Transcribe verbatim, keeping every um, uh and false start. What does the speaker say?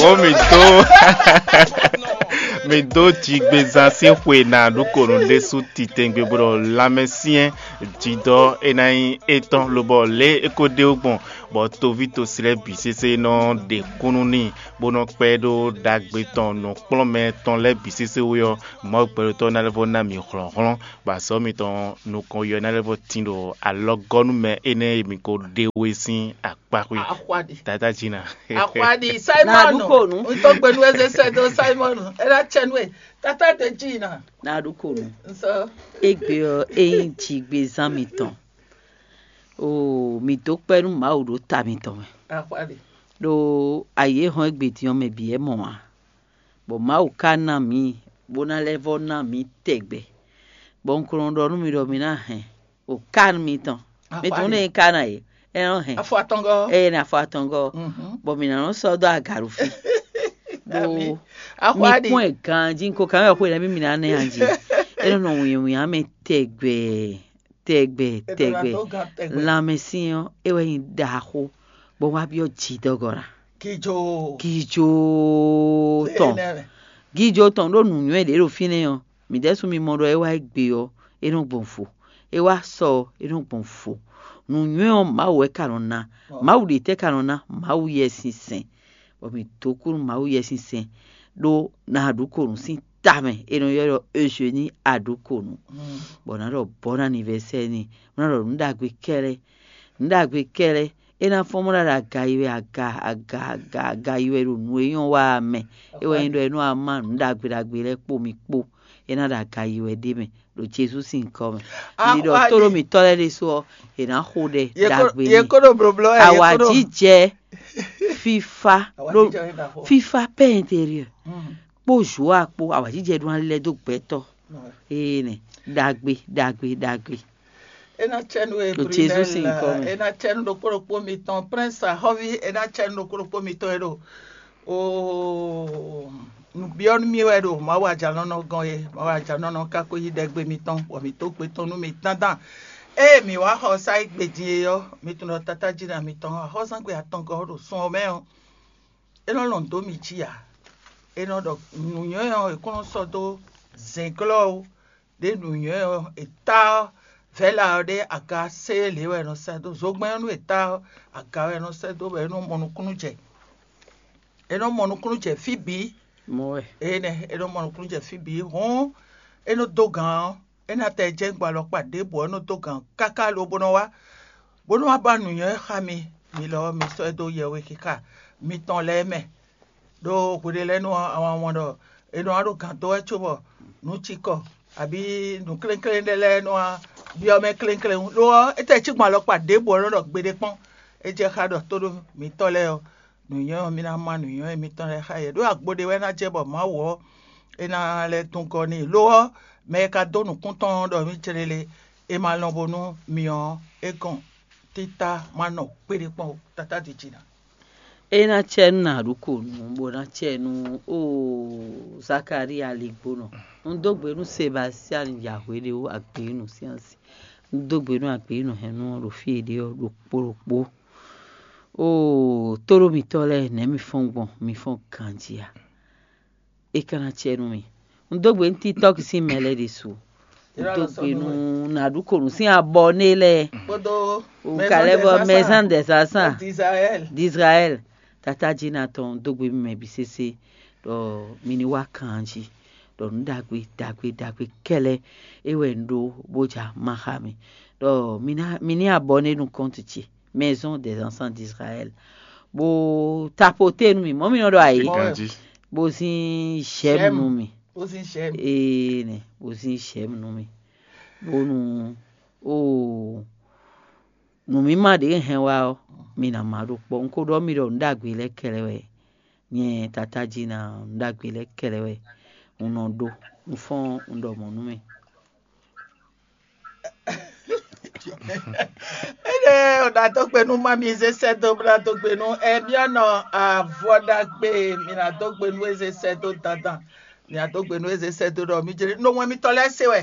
Hǒ mǐ dó mǐ dó jigbezán sín xwe ná ɖó konu ɖésú titɛngbe bó ɖɔ lanmɛsyɛn jidɔ é ná nyí étɔn lobɔ lě é ko ɖe wú gbɔn bɔ toví tosi lɛ́ɛ bǐ sésé nɔ ɖe kúnnu n'i bó nɔ kpɛ́ ɖó ɖagbe tɔn nǔkplɔ́nmɛ tɔn lɛ́ɛ bǐ sésé wú ɔ́, Mawu gbɛɖotɔ́ ná lɛ́ vɔ́ ná mǐ hlɔ̌nhlɔ́n, bɔ azɔ̌ mitɔn nukɔn yɔ ná lɛ́ vɔ́ tín ɖo alɔgɔ́númɛ énɛ́ e mi ko ɖe we sín akpáxwé. Axwaɖi. Tata Jina. Axwaɖi. Simon. Ná ɖu kò nú. Ŋutɔ́ gbenu eze sɛ dó Simon. É ná tsɛ nú e. Tata de Jina. Ná ɖu kò nú. Nsɔ. Égbé ɔ́, é nyí jigbezán mitɔn. Oo, mǐ dó kpɛ́ nú Mawu ɖo ta mitɔn mɛ. Axwaɖi. Ɖó ayǐ e hɔn égbé din ɔ́ mɛ bǐ wɛ mɔ ǎ. Bɔ Mawu ka ná mǐ, bó ná lɛ́ vɔ́ ná mǐ tɛgbɛ. Bɔ un ko nɔ ɖɔ nú mi ɖɔ mi ná hɛn o kan mitɔn. Mitɔn ne nyí kan ǎ é, é nɔ hɛn. Afɔ atɔngɔ́. Eye ne afɔ atɔngɔ́. Bɔ mǐ ná nɔ sɔ́ dó agaɖufi. Ɖó mi kpɔ́n ɛ ganjí, un ko kan wɛ xwe nɛ́ mì mǐ ná nɛ anjí. É nɔ nɔ wǐnwín mɛ tɛgbɛ, tɛgbɛ, tɛgbɛ. Lanmɛsyɛn ɔ́, é wɛ nyí ɖaxó, bɔ wá byɔ́ jǐdɔgɔ́ ná. Kijo. Kijo tɔn. Gijo tɔn ɖó nǔnywɛ́ ɖě ɖo fínɛ́ ɔ́, mǐ ɖɛ́sú mi mɔ ɖɔ é wá égbé ɔ́, é nɔ gbɔn vo; é wá sɔ ɔ́, é nɔ gbɔn vo. Nǔnywɛ́ ɔ́, Mawu wɛ ka nɔ ná. Mawu ɖě tɛ́ ka nɔ ná? Mawu Yɛsinsɛn. Bɔ mǐ dó kú nú Mawu Yɛsinsɛn ɖó ná aɖǔkonu sín ta mɛ, è nɔ ylɔ́ ɖɔ Eugénie aɖǔkonu. Bɔ ná ɖɔ bɔ̌ ná anivɛsɛ́ n'i, bó ná ɖɔ nǔ ɖagbe kɛ́ɖɛ́. Nǔ ɖagbe kɛ́ɖɛ́, é ná fɔ́n bó ná ɖo aga yi wɛ aga aga aga aga yi wɛ ɖo nǔ e nyɔ́ wa ɔ́ mɛ. É wɛ nyí ɖɔ é nɔ wá má nǔ ɖagbe ɖagbe lɛ́ɛ kpó mi kpó, é ná ɖo aga yi wɛ ɖ'é mɛ ɖo Jezu sín nyǐkɔ mɛ. Mi ɖɔ tóɖó mǐtɔn lɛ́ɛ ɖésú ɔ́, è nǎ xo ɖɛ ɖagbe n'i. Awǎjijɛ fífá ɖó fífá pɛ́ intérieur kpó Joa kpó, awǎjijɛ ɖó ná lɛ́ dó gbɛtɔ́. Ee nɛ, ɖagbe ɖagbe ɖagbe. É ná cɛ nú e Ɖo Jezu sín nyǐkɔ mɛ. É ná cɛ nú ɖokpó ɖokpó mitɔn, Prince Ahɔ́ví, é ná cɛ nú ɖokpó ɖokpó mitɔn e ɖo oo nǔbyɔ́ nú mì wɛ ɖo Mawu ajǎnɔnɔ gɔ́n e. Mawu ajǎnɔnɔ ka ko yí ɖɛgbe mitɔn, bɔ mǐ dó gbe tɔn nú mi dandan. Ée mǐ wá xɔ sá yi gbe din e ɔ́, mi tunwun ɖɔ Tatájínɔ mitɔn axɔ́súzángbe atɔngɔ́ ɖo sun ɔ́ mɛ ɔ́, é nɔ lɔn dó mi jí ǎ. É nɔ ɖɔ nǔnywɛ́ ɔ́, è kún nɔ sɔ́ dó zɛ̌nglɔ́ ó. Ɖě nǔnywɛ́ ɔ́, è tá ɔ́, vɛ̌la ɔ́ ɖé aga séé lě wɛ è nɔ sɛ́ dó. Zogbɛ́n ɔ́ nú è tá ɔ́, aga wɛ è nɔ sɛ́ dó bɔ é nɔ mɔ nukúnnú jɛ. É nɔ mɔ nukúnnú jɛ fí bǐ. Mɔ wɛ. Énɛ́ é nɔ mɔ nukúnnú jɛ fí bǐ. Hǔn é nɔ dó gǎn ɔ́, é ná tɛ jɛ́n gbɔ alɔkpa ɖěbǔ ɔ́, é nɔ dó gǎn káká lobo nɔ wá, bó nɔ wá ba nǔnywɛ́ xá mi. Mi lɔ ɔ́, mi sɔ́ ɛ dó yɛwe xixa mitɔn lɛ́ɛ mɛ. Ɖó hweɖé lɛ́ɛ nɔ ɔ́, a ma wɔn ɖɔ è nɔ wá ɖo gǎn dó wɛ cóbɔ nǔ cikɔ abǐ nǔ klénklénɖé lɛ́ɛ nɔ wá byɔ́ mɛ klénkléwún. Lo ɔ́, é tɛ cí gbɔn alɔkpa ɖěbǔ ɔ́ nɔ ɖɔ gbeɖé kpɔ́n. É jɛ xá ɖɔ tóɖó mǐtɔn lɛ́ɛ ɔ́, nǔnywɛ́ ɔ́, mi ná má nǔnywɛ́ mitɔn lɛ́ɛ xá yě. Ɖó agbo ɖé wɛ ná jɛ bɔ Mawu ɔ́, é ná lɛ́ dun gɔ́ n'i. Lo ɔ́, mɛ e ka dó nǔkún tɔn ɔ́ ɖɔ mǐ jlélé, è ma lɔn bónú mi ɔ́, é gɔn títá má nɔ kpéɖé kpɔ́n ó. Tatá ɖi jǐ ná. É ná cɛ nú nǎɖuko nǔ, bó ná cɛ nú oo Zakalía ligbónɔ. Un dó gbe nú Sebastian Yahweh ɖé ó agběnu sín asi. Un dó gbe nú agběnu hɛn nú ɔ́ ɖo fí e ɖe ɔ́ ɖokpó ɖokpó. Oo tóɖó mitɔ́ lɛ́ɛ, nɛ̌ mi fɔ́n gbɔn? Mi fɔ́n ganjí a? É ka ná cɛ nú mi. Un dó gbe nú TikTok sín mɛ lɛ́ɛ ɖésú. Un dó gbe nú nǎɖuko nǔ sín abɔné lɛ́ɛ. Kpódó Kalɛ́bɔ Maison des Enfants d'Israël. Tatájí ná tɔn un dó gbe mɛ bǐ sésé ɖɔ mi ní wá kan jí, ɖɔ nǔ ɖagbe ɖagbe ɖagbe kɛ́lɛ́ é wɛ un ɖó bó ja ma xá mi, ɖɔ mi ná mi ní abɔné nú kɔ́ntu ce, Maison des Enfants d'Israël, bó tapoté nú mi, mɔ̌ mi nɔ ɖɔ ayǐ, bó zín j'aime nú mi. Ee nɛ, bó zín j'aime nú mi, bónú oo nǔmímá ɖě hɛn wá ɔ́, mi ná má ɖó kpɔ́. Un ko ɖɔ mi ɖɔ nǔ ɖagbe lɛ́ɛ kɛlɛ wɛ. Nyɛ tatájí ná nǔ ɖagbe lɛ́ɛ kɛlɛ wɛ un nɔ ɖó. Un fɔ́n un ɖɔ mɔ̌ nú mi. Énɛ́ ɔ́, ná dó gbe nú má mi zé sɛ́ dó bó ná dó gbe nú Ɛmiɔ́nɔ avɔ ɖagbe, mi ná dó gbe nú eze sɛ́ dó dandan. Mi ná dó gbe nú eze sɛ́ dó ɖɔ mi jlé nú wɛn mitɔn lɛ́ɛ se wɛ.